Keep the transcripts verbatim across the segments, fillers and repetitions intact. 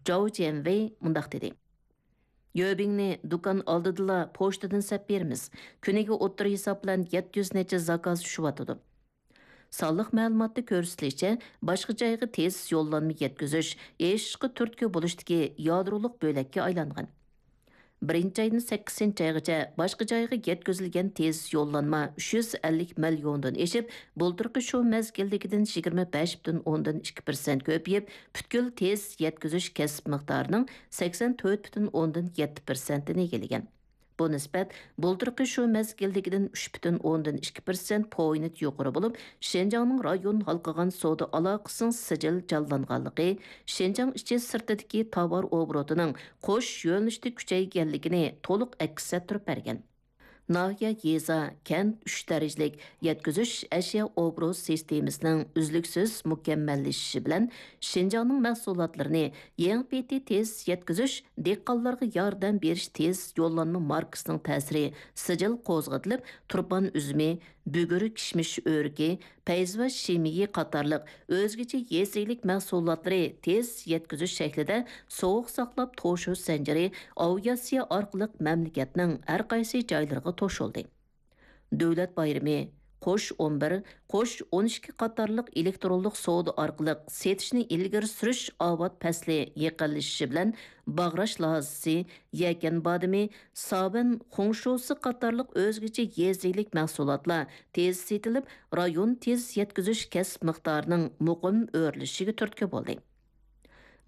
جاۋ جيەنۋېي مۇنداق دېدى: يۆبىڭنى دۇكان ئالدىدىلا پوچتىدىن سەپ بېرىمىز. كۈنىگە ئوتتۇرا ھېساب بىلەن يەتتە يۈز نەچچە زاكاز چۈشۈۋاتىدۇ. سانلىق مەلۇماتتا كۆرسىتىلىشىچە، باشقا جايغا تېز يوللانما يەتكۈزۈش ئېشىشقا تۈرتكە بولۇشتىكى يادرولۇق بۆلەككە ئايلانغان. بىرىنچى ئايدىن سەككىزىنچى ئايغىچە باشقا جايغا يەتكۈزۈلگەن تېز يوللانما ئۈچ يۈز ئەللىك مىليوندىن ئېشىپ، بۇلتۇرقى شۇ مەزگىلدىكىدىن يىگىرمە بەش پۈتۈن ئوندىن ئىككى پىرسەنت كۆپىيىپ، پۈتكۈل تېز يەتكۈزۈش كەسىپ مىقدارىنىڭ سەكسەن تۆت پۈتۈن ئوندىن يەتتە پىرسەنتىنى ئىگىلىگەن. بۇ نىسبەت بۇلتۇرقى شۇ مەزگىلدىكىدىن ئۈچ پۈتۈن ئوندىن ئىككى پىرسەنت پوينت يۇقىرى بولۇپ، شىنجاڭنىڭ رايون ھالقىغان سودا ئالاقىسىنىڭ سىجىل جانلانغانلىقى، شىنجاڭ ئىچى سىرتىدىكى تاۋار ئوبوروتىنىڭ قوش يۆنىلىشتە كۈچەيگەنلىكىنى تولۇق ئەكس ئەتتۈرۈپ بەرگەن. ناھىيە، يېزا، كەنت ئۈچ دەرىجىلىك يەتكۈزۈش ئەشيا ئوبوروت سىستېمىسىنىڭ ئۈزلۈكسىز مۇكەممەللىشىشى بىلەن، شىنجاڭنىڭ مەھسۇلاتلىرىنى يېڭى پېتى تېز يەتكۈزۈش، دېھقانلارغا ياردەم بېرىش تېز يوللانما ماركىسىنىڭ تەسىرى سىجىل قوزغىتىلىپ، تۇرپان ئۈزۈمى، بۈگۈر كىشمىش ئۆرۈكى، پەيزىۋات شىمىيى قاتارلىق ئۆزگىچە يېزا ئىگىلىك مەھسۇلاتلىرى تېز يەتكۈزۈش شەكلىدە سوغۇق ساقلاپ توشۇش زەنجىرى ئاۋىئاتسىيە ئارقىلىق مەملىكەتنىڭ ھەر قايسى جايلىرىغا توشۇلدى. دۆلەت بايرىمى، قوش ئون بىر، قوش ئون ئىككى قاتارلىق ئېلېكترونلۇق سودا ئارقىلىق سېتىشنى ئىلگىرى سۈرۈش ئاۋات پەسلى يېقىنلىشىشى بىلەن، باغراش لازىسى، يەكەن بادىمى، ساۋەن خۇڭشۇسى قاتارلىق ئۆزگىچە يېزا ئىگىلىك مەھسۇلاتلار تېز سېتىلىپ، رايون تېز يەتكۈزۈش كەسىپ مىقدارىنىڭ مۇقىم ئۆرلىشىشىگە تۈرتكە بولدى.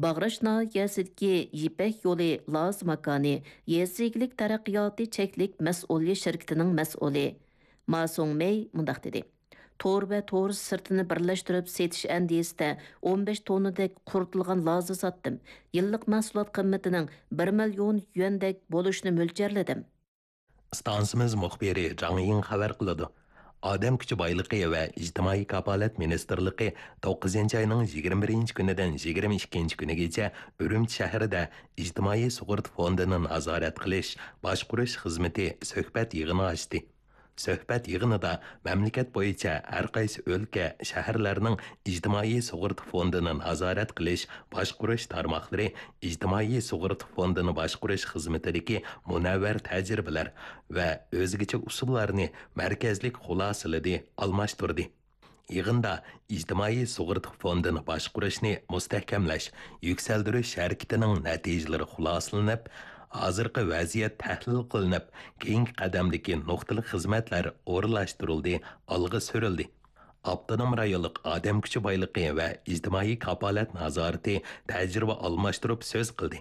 باغراش ناھىيەسىدىكى يىپەك يولى لازا ماكانى يېزا ئىگىلىك تەرەققىياتى چەكلىك مەسئۇلىيەت شىركىتىنىڭ مەسئۇلى ما سۇڭمېي مۇنداق دېدى: تور ۋە تور سىرتىنى بىرلەشتۈرۈپ سېتىش ئەندىزىسىدە ئون بەش توننىدەك قۇرۇتۇلغان لازا ساتتىم. يىللىق مەھسۇلات قىممىتىنىڭ بىر مىليون يۈەندەك بولۇشىنى مۆلچەرلىدىم. ئىستانسىمىز مۇخبىرى جاڭ يىڭ خەۋەر قىلىدۇ. ئادەم كۈچى بايلىقى ۋە ئىجتىمائىي كاپالەت مىنىستىرلىقى توققۇزىنچى ئاينىڭ يىگىرمە بىرىنچى كۈنىدىن يىگىرمە ئىككىنچى كۈنىگىچە ئۈرۈمچى شەھىرىدە ئىجتىمائىي سۇغۇرتا فوندىنى نازارەت قىلىش، باشقۇرۇش خىزمىتى سۆھبەت يىغىنى ئاچتى. سۆھبەت يىغىنىدا مەملىكەت بويىچە ھەر قايسى ئۆلكە، شەھەرلەرنىڭ ئىجتىمائىي سۇغۇرتا فوندىنى نازارەت قىلىش، باشقۇرۇش تارماقلىرى ئىجتىمائىي سۇغۇرتا فوندىنى باشقۇرۇش خىزمىتىدىكى مۇنەۋۋەر تەجرىبىلەر ۋە ئۆزگىچە ئۇسۇللارنى مەركەزلىك خۇلاسىلىدى، ئالماشتۇردى. يىغىندا ئىجتىمائىي سۇغۇرتا فوندىنى باشقۇرۇشنى مۇستەھكەملەش، يۈكسەلدۈرۈش ھەرىكىتىنىڭ نەتىجىلىرى خۇلاسىلىنىپ، ھازىرقى ۋەزىيەت تەھلىل قىلىنىپ، كېيىنكى قەدەمدىكى نۇقتىلىق خىزمەتلەر ئورۇنلاشتۇرۇلدى، ئالغا سۈرۈلدى. ئاپتونوم رايونلۇق ئادەم كۈچى بايلىقى ۋە ئىجتىمائىي كاپالەت نازارىتى تەجرىبە ئالماشتۇرۇپ سۆز قىلدى.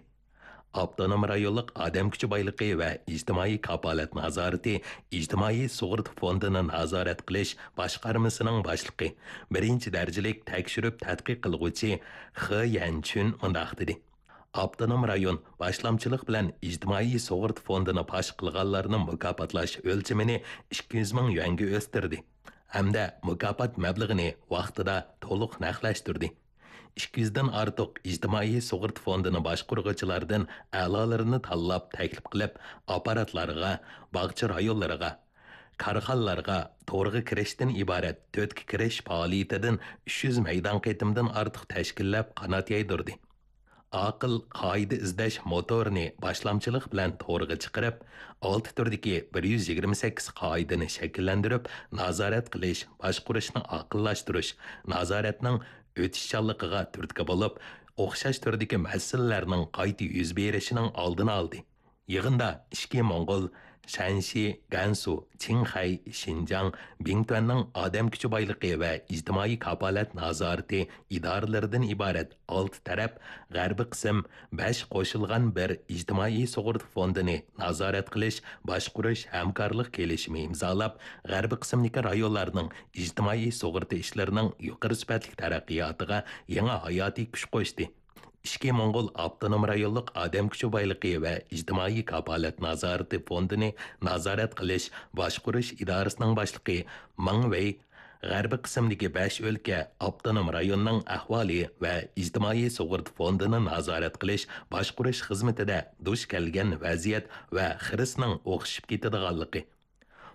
ئاپتونوم رايونلۇق ئادەم كۈچى بايلىقى ۋە ئىجتىمائىي كاپالەت نازارىتى ئىجتىمائىي سۇغۇرتا فوندىنى نازارەت قىلىش باشقارمىسىنىڭ باشلىقى، بىرىنچى دەرىجىلىك تەكشۈرۈپ تەتقىق قىلغۇچى خې يەنچۈن مۇنداق دېدى: ئاپتونوم رايون باشلامچىلىق بىلەن ئىجتىمائىي سۇغۇرتا فوندىنى پاش قىلغانلارنى مۇكاپاتلاش ئۆلچىمىنى ئىككى يۈز مىڭ يۈەنگە ئۆستۈردى ھەمدە مۇكاپات مەبلىغىنى ۋاقتىدا تولۇق نەقلەشتۈردى. ئىككى يۈزدىن ئارتۇق ئىجتىمائىي سۇغۇرتا فوندىنى باشقۇرغۇچىلاردىن ئەلالىرىنى تاللاپ تەكلىپ قىلىپ، ئاپپاراتلارغا، باغچە رايونلىرىغا، كارخانىلارغا تورغا كىرىشتىن ئىبارەت تۆتكە كىرىش پائالىيىتىدىن ئۈچ يۈز مەيدان قېتىمدىن ئارتۇق تەشكىللەپ قانات يايدۇردى. ئاقىل قائىدە ئىزدەش موتورىنى باشلامچىلىق بىلەن تورغا چىقىرىپ، ئالتە تۈردىكى بىر يۈز يىگىرمە سەككىز قائىدىنى شەكىللەندۈرۈپ، نازارەت قىلىش، باشقۇرۇشنى ئاقىللاشتۇرۇش، نازارەتنىڭ ئۆتۈشچانلىقىغا تۈرتكە بولۇپ، ئوخشاش تۈردىكى مەسىلىلەرنىڭ قايتا يۈز بېرىشىنىڭ ئالدىنى ئالدى. يىغىندا ئىچكى موڭغۇل، شەنشى، گەنسۇ، چىڭخەي، شىنجاڭ، بىڭتۈەننىڭ ئادەم كۈچى بايلىقى ۋە ئىجتىمائىي كاپالەت نازارىتى ئىدارىلىرىدىن ئىبارەت ئالتە تەرەپ غەربىي قىسىم بەش قوشۇلغان بىر ئىجتىمائىي سۇغۇرتا فوندىنى نازارەت قىلىش، باشقۇرۇش ھەمكارلىق كېلىشىمى ئىمزالاپ، غەربىي قىسىمدىكى رايونلارنىڭ ئىجتىمائىي سۇغۇرتا ئىشلىرىنىڭ يۇقىرى سۈپەتلىك تەرەققىياتىغا يېڭى ھاياتىي كۈچ قوشتى. ئىچكى موڭغۇل ئاپتونوم رايونلۇق ئادەم كۈچى بايلىقى ۋە ئىجتىمائىي كاپالەت نازارىتى فوندىنى نازارەت قىلىش، باشقۇرۇش ئىدارىسىنىڭ باشلىقى مېڭ ۋېي غەربىي قىسىمدىكى بەش ئۆلكە، ئاپتونوم رايوننىڭ ئەھۋالى ۋە ئىجتىمائىي سۇغۇرتا فوندىنى نازارەت قىلىش، باشقۇرۇش خىزمىتىدە دۇچ كەلگەن ۋەزىيەت ۋە خىرىسنىڭ ئوخشىشىپ كېتىدىغانلىقى،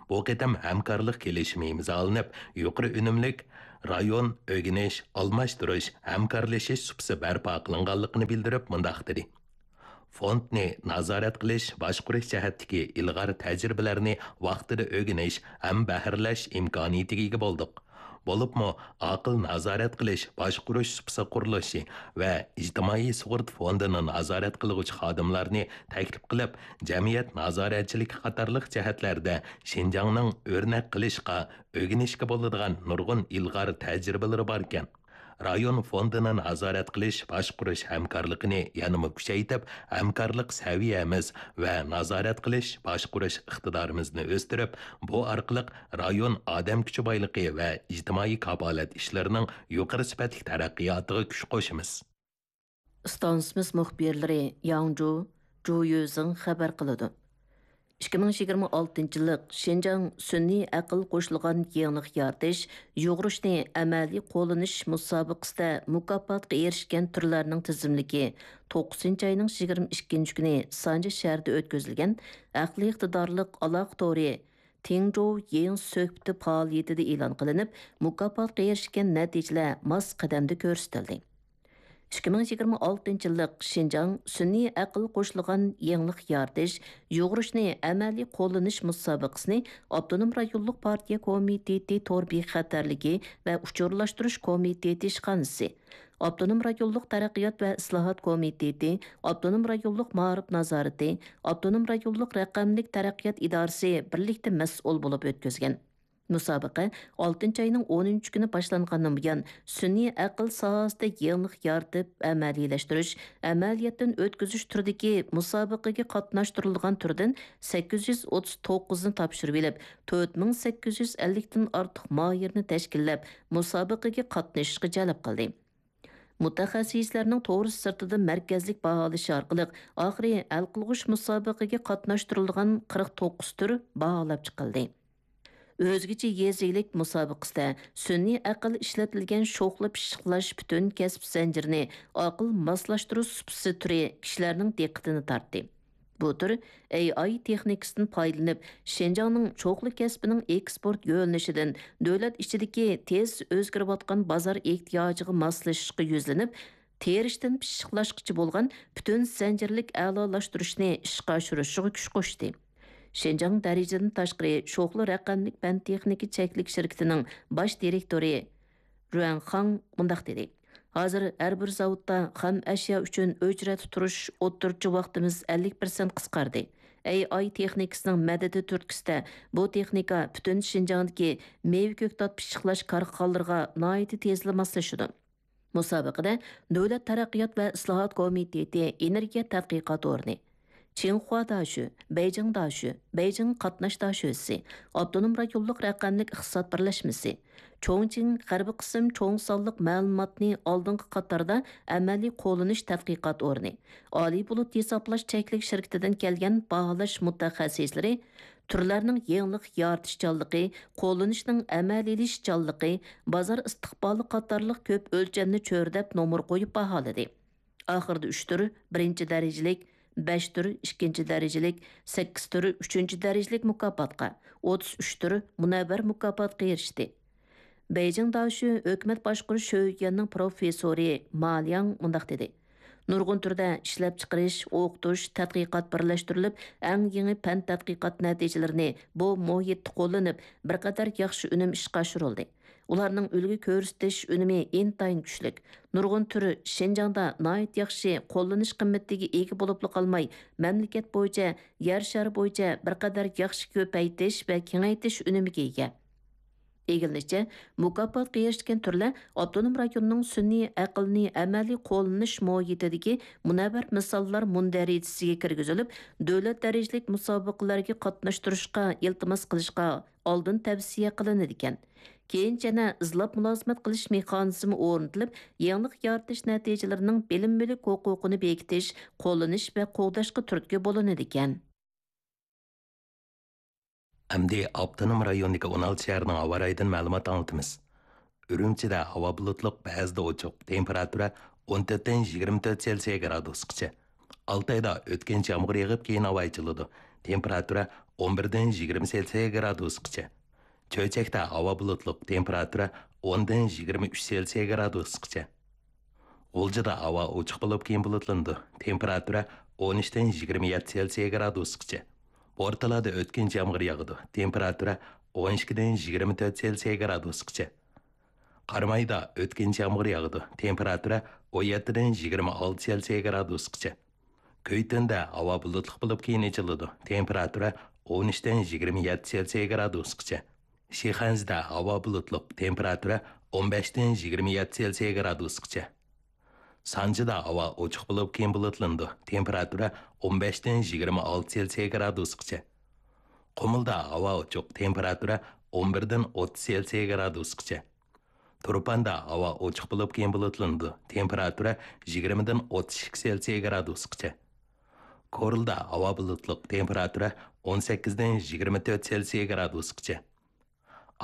بۇ قېتىم ھەمكارلىق كېلىشىمى ئىمزالىنىپ، يۇقىرى ئۈنۈملۈك رايون ئۆگىنىش، ئالماشتۇرۇش، ھەمكارلىشىش سۇپىسى بەرپا قىلىنغانلىقىنى بىلدۈرۈپ مۇنداق دېدى: فوندنى نازارەت قىلىش، باشقۇرۇش جەھەتتىكى ئىلغار تەجرىبىلەرنى ۋاقتىدا ئۆگىنىش ھەم بەھرىلەش ئىمكانىيىتىگە ئىگە بولدۇق. بولۇپمۇ ئاقىل نازارەت قىلىش، باشقۇرۇش سۇپىسى قۇرۇلۇشى ۋە ئىجتىمائىي سۇغۇرتا فوندىنى نازارەت قىلغۇچى خادىملارنى تەكلىپ قىلىپ، جەمئىيەت نازارەتچىلىكى قاتارلىق جەھەتلەردە شىنجاڭنىڭ ئۆرنەك قىلىشقا، ئۆگىنىشكە بولىدىغان نۇرغۇن ئىلغار تەجرىبىلىرى باركەن. رايون فوندىنى نازارەت قىلىش، باشقۇرۇش ھەمكارلىقىنى يەنىمۇ كۈچەيتىپ، ھەمكارلىق سەۋىيەمىز ۋە نازارەت قىلىش، باشقۇرۇش ئىقتىدارىمىزنى ئۆستۈرۈپ، بۇ ئارقىلىق رايون ئادەم كۈچى بايلىقى ۋە ئىجتىمائىي كاپالەت ئىشلىرىنىڭ يۇقىرى سۈپەتلىك تەرەققىياتىغا كۈچ قوشىمىز. ئىستانسىمىز مۇخبىرلىرى ياڭجۇ، جۇ يۈزىڭ خەۋەر قىلىدۇ. ئىككى مىڭ يىگىرمە ئالتىنچى يىللىق شىنجاڭ سۈنئىي ئەقىل قوشۇلغان يېڭىلىق يارىتىش، يۇغۇرۇشنى ئەمەلىي قوللىنىش مۇسابىقىسىدە مۇكاپاتقا ئېرىشكەن تۈرلەرنىڭ تىزىملىكى توققۇزىنچى ئاينىڭ يىگىرمە ئىككىنچى كۈنى سانجى شەھىرىدە ئۆتكۈزۈلگەن ئەقلىي ئىقتىدارلىق ئالاقە تورى تىڭجوۋ يېڭى سۆھبىتى پائالىيىتىدە ئېلان قىلىنىپ، مۇكاپاتقا ئېرىشكەن نەتىجىلەر ماس قەدەمدە كۆرسىتىلدى. ئىككى مىڭ يىگىرمە ئالتىنچى يىللىق شىنجاڭ سۈنئىي ئەقىل قوشۇلغان يېڭىلىق يارىتىش، يۇغۇرۇشنى ئەمەلىي قوللىنىش مۇسابىقىسىنى ئاپتونوم رايونلۇق پارتىيە كومىتېتى تور بىخەتەرلىكى ۋە ئۇچۇرلاشتۇرۇش كومىتېتى ئىشخانىسى، ئاپتونوم رايونلۇق تەرەققىيات ۋە ئىسلاھات كومىتېتى، ئاپتونوم رايونلۇق مائارىپ نازارىتى، ئاپتونوم رايونلۇق رەقەملىك تەرەققىيات ئىدارىسى بىرلىكتە مەسئۇل بولۇپ ئۆتكۈزگەن. مۇسابىقە ئالتىنچى ئاينىڭ ئونىنچى كۈنى باشلانغاندىن بۇيان، سۈنئىي ئەقىل ساھەسىدە يېڭىلىق يارىتىپ ئەمەلىيلەشتۈرۈش، ئەمەلىيەتتىن ئۆتكۈزۈش تۈرىدىكى مۇسابىقىگە قاتناشتۇرۇلغان تۈردىن سەككىز يۈز ئوتتۇز توققۇزنى تاپشۇرۇۋېلىپ، تۆت مىڭ سەككىز يۈز ئەللىكتىن ئارتۇق ماھىرنى تەشكىللەپ، مۇسابىقىگە قاتنىشىشقا جەلپ قىلدى. مۇتەخەسسىسلەرنىڭ تورۇس سىرتىدا مەركەزلىك باھالىشى ئارقىلىق، ئاخىرى ھەل قىلغۇچ مۇسابىقىگە قاتناشتۇرۇلغان قىرىق توققۇز تۈر باھالاپ چىقىلدى. ئۆزگىچە يېزا ئىگىلىك مۇسابىقىسىدە سۈنئىي ئەقىل ئىشلىتىلگەن شوخلا پىششىقلاش پۈتۈن كەسىپ زەنجىرىنى ئاقىل ماسلاشتۇرۇش سۇپىسى تۈرى كىشىلەرنىڭ دىققىتىنى تارتتى. بۇ تۈر ئەي ئاي تېخنىكىسىدىن پايدىلىنىپ، شىنجاڭنىڭ چوقلى كەسپىنىڭ ئېكسپورت يۆنىلىشىدىن دۆلەت ئىچىدىكى تېز ئۆزگىرىۋاتقان بازار ئېھتىياجىغا ماسلىشىشقا يۈزلىنىپ، تېرىشتىن پىششىقلاشقىچە بولغان پۈتۈن زەنجىرلىك ئەلالاشتۇرۇشنى ئىشقا ئاشۇرۇشىغا كۈچ قوشتى. شىنجاڭ دەرىجىدىن تاشقىرى شوخلا رەقەملىك پەن تېخنىكا چەكلىك شىركىتىنىڭ باش دىرېكتورى رۇەن خاڭ مۇنداق دېدى: ھازىر ھەر بىر زاۋۇتتا خام ئەشيا ئۈچۈن ئۆچرەتتە تۇرۇش ئوتتۇرىچە ۋاقتىمىز ئەللىك پىرسەنت قىسقاردى. ئەي ئاي تېخنىكىسىنىڭ مەدىتى تۈرتكىسىدە بۇ تېخنىكا پۈتۈن شىنجاڭدىكى مېۋە كۆكتات پىششىقلاش كارخانىلىرىغا ناھايىتى تېزلا ماسلىشىدۇ. مۇسابىقىدە دۆلەت تەرەققىيات ۋە ئىسلاھات كومىتېتى ئېنېرگىيە تەتقىقات ئورنى، چىڭخۇا داشۈ، بېيجىڭ داشۈ، بېيجىڭ قاتناش داشۆسى، ئاپتونوم رايونلۇق رەقەملىك ئىقتىساد بىرلەشمىسى، چوڭچىڭ غەربىي قىسىم چوڭ سانلىق مەلۇماتنى ئالدىنقى قاتاردا ئەمەلىي قوللىنىش تەتقىقات ئورنى، ئالىي بۇلۇت ھېسابلاش چەكلىك شىركىتىدىن كەلگەن باھالاش مۇتەخەسسىسلىرى تۈرلەرنىڭ يېڭىلىق يارىتىشچانلىقى، قوللىنىشنىڭ ئەمەلىيلىشىشچانلىقى، بازار ئىستىقبالى قاتارلىق كۆپ ئۆلچەمنى چۆرىدەپ نومۇر قويۇپ باھالىدى. ئاخىرىدا ئۈچ تۈر، بىرىنچى دەرىجىلىك، بەش تۈر، ئىككىنچى دەرىجىلىك، سەككىز تۈر، ئۈچىنچى دەرىجىلىك مۇكاپاتقا، ئوتتۇز ئۈچ تۈر مۇنەۋۋەر مۇكاپاتقا ئېرىشتى. بېيجىڭ داشۈ ھۆكۈمەت باشقۇرۇش شۆيۈەننىڭ پروفېسسورى ما لياڭ مۇنداق دېدى: نۇرغۇن تۈردە ئىشلەپچىقىرىش، ئوقۇتۇش، تەتقىقات بىرلەشتۈرۈلۈپ، ئەڭ يېڭى پەن تەتقىقات نەتىجىلىرىنى بۇ مۇھىتتا قوللىنىپ، بىر قەدەر ياخشى ئۈنۈم ئىشقا ئاشۇرۇلدى. ئۇلارنىڭ ئۈلگە كۆرسىتىش ئۈنۈمى ئىنتايىن كۈچلۈك. نۇرغۇن تۈر شىنجاڭدا ناھايىتى ياخشى قوللىنىش قىممىتىگە ئىگە بولۇپلا قالماي، مەملىكەت بويىچە، يەر شارى بويىچە بىر قەدەر ياخشى كۆپەيتىش ۋە كېڭەيتىش ئۈنۈمىگە ئىگە. ئىگىلىنىشىچە، مۇكاپاتقا ئېرىشكەن تۈرلەر ئاپتونوم رايوننىڭ سۈنئىي ئەقىلنى ئەمەلىي قوللىنىش مۇھىتىدىكى مۇنەۋۋەر مىساللار مۇندەرىجىسىگە كىرگۈزۈلۈپ، دۆلەت دەرىجىلىك مۇسابىقىلەرگە قاتناشتۇرۇشقا ئىلتىماس قىلىشقا ئالدىن تەۋسىيە قىلىنىدىكەن. كېيىنچە يەنە ئىزلاپ مۇلازىمەت قىلىش مېخانىزمى ئورنىتىلىپ، يېڭىلىق يارىتىش نەتىجىلىرىنىڭ بىلىم مۈلۈك ھوقۇقىنى بېكىتىش، قوللىنىش ۋە قوغداشقا تۈرتكە بولۇنىدىكەن. ئەمدى ئاپتونوم رايوندىكى ئون ئالتە شەھەرنىڭ ھاۋا رايىدىن مەلۇمات ئاڭلىتىمىز. ئۈرۈمچىدە ھاۋا بۇلۇتلۇق، بەزىدە ئوچۇق، تېمپېراتۇرا ئون تۆتتىن يىگىرمە تۆت سېلسىيە گرادۇسقىچە. ئالتايدا ئۆتكۈنچى يامغۇر يېغىپ، كېيىن ھاۋا ئېچىلىدۇ. تېمپېراتۇرا ئون بىردىن يىگىرمە سېلسىيە گرادۇسقىچە. چۆچەكتە ھاۋا بۇلۇتلۇق، تېمپېراتۇرا ئوندىن يىگىرمە ئۈچ سېلسىيە گرادۇسقىچە. غۇلجىدا ھاۋا ئوچۇق بولۇپ، كېيىن بۇلۇتلىنىدۇ. تېمپېراتۇرا ئون ئۈچتىن يىگىرمە يەتتە سېلسىيە گرادۇسقىچە. بورتالادا ئۆتكۈنچى يامغۇر ياغىدۇ. تېمپېراتۇرا ئون ئىككىدىن يىگىرمە تۆت سېلسىيە گرادۇسقىچە. قارامايدا ئۆتكۈنچى يامغۇر ياغىدۇ. تېمپېراتۇرا ئون يەتتىدىن يىگىرمە ئالتە سېلسىيە گرادۇسقىچە. كۈيتۈندە ھاۋا بۇلۇتلۇق بولۇپ، كېيىن ئېچىلىدۇ. تېمپېراتۇرا ئون ئۈچتىن يىگىرمە يەتتە سېلسىيە گرادۇسقىچە. شىخەنزىدە ھاۋا بۇلۇتلۇق، تېمپېراتۇرا ئون بەشتىن يىگىرمە يەتتە سېلسىيە گرادۇسقىچە. سانجىدا ھاۋا ئوچۇق بولۇپ، كېيىن بۇلۇتلىنىدۇ. تېمپېراتۇرا ئون بەشتىن يىگىرمە ئالتە سېلسىيە گرادۇسقىچە. قۇمۇلدا ھاۋا ئوچۇق، تېمپېراتۇرا ئون بىردىن ئوتتۇز سېلسىيە گرادۇسقىچە. تۇرپاندا ھاۋا ئوچۇق بولۇپ، كېيىن بۇلۇتلىنىدۇ. تېمپېراتۇرا يىگىرمىدىن ئوتتۇز ئىككى سېلسىيە گرادۇسقىچە. كورلىدا ھاۋا بۇلۇتلۇق، تېمپېراتۇرا ئون سەككىزدىن يىگىرمە تۆت سېلسىيە گرادۇسقىچە.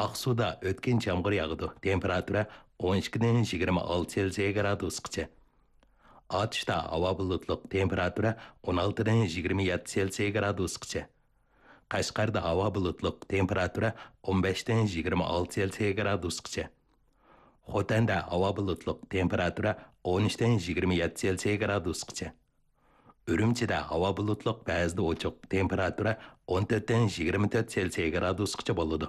ئاقسۇدا ئۆتكۈنچى يامغۇر ياغىدۇ، تېمپېراتۇرا ئون ئىككىدىن يىگىرمە ئالتە سېلسىيە گرادۇسقىچە. ئاتۇشتا ھاۋا بۇلۇتلۇق، تېمپېراتۇرا ئون ئالتىدىن يىگىرمە يەتتە سېلسىيە گرادۇسقىچە. قەشقەردە ھاۋا بۇلۇتلۇق، تېمپېراتۇرا ئون بەشتىن يىگىرمە ئالتە سېلسىيە گرادۇسقىچە. خوتەندە ھاۋا بۇلۇتلۇق، تېمپېراتۇرا ئون ئۈچتىن يىگىرمە يەتتە سېلسىيە گرادۇسقىچە. ئۈرۈمچىدە ھاۋا بۇلۇتلۇق، بەزىدە ئوچۇق، تېمپېراتۇرا ئون تۆتتىن يىگىرمە تۆت سېلسىيە گرادۇسقىچە بولىدۇ.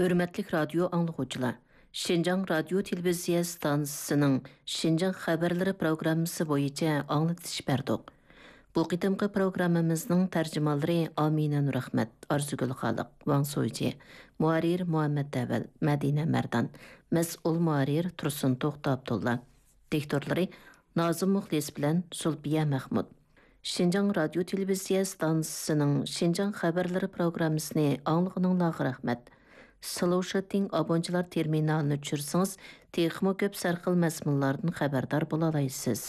ھۆرمەتلىك رادىيو ئاڭلىغۇچىلار، شىنجاڭ رادىيو تېلېۋىزىيە ئىستانسىسىنىڭ شىنجاڭ خەۋەرلىرى پروگراممىسى بويىچە ئاڭلىتىش بەردۇق. بۇ قېتىمقى پروگراممىمىزنىڭ تەرجىمانلىرى ئامىنە نۇرئەخمەت، ئارزۇگۈل خالىق، ۋاڭ سويجى، مۇھەررىر مۇھەممەت ئەۋەل، مەدىنە مەردان، مەسئۇل مۇھەررىر تۇرسۇن توختى ئابدۇللا، دىكتورلىرى نازىم مۇخلىس بىلەن زۇلپىيە مەخمۇت. شىنجاڭ رادىيو تېلېۋىزىيە ئىستانسىسىنىڭ شىنجاڭ خەۋەرلىرى پروگراممىسىنى ئاڭلىغىنىڭلارغا رەھمەت. سلوشىتىڭ ئابونچىلار تېرمىنالىنى چۈشۈرسىڭىز، تېخىمۇ كۆپ سەرخىل مەزمۇنلاردىن خەۋەردار بولالايسىز.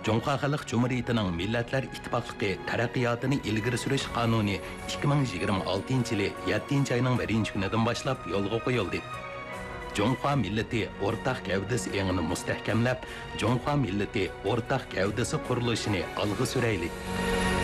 جۇڭخۇا خەلق جۇمھۇرىيىتىنىڭ مىللەتلەر ئىتتىپاقلىقى تەرەققىياتىنى ئىلگىرى سۈرۈش قانۇنى ئىككى مىڭ يىگىرمە ئالتىنچى يىلى يەتتىنچى ئاينىڭ بىرىنچى كۈنىدىن باشلاپ يولغا قويۇلدى. جۇڭخۇا مىللىتى ئورتاق گەۋدىسى ئېڭىنى مۇستەھكەملەپ، جۇڭخۇا مىللىتى ئورتاق گەۋدىسى قۇرۇلۇشىنى ئالغا سۈرەيلى!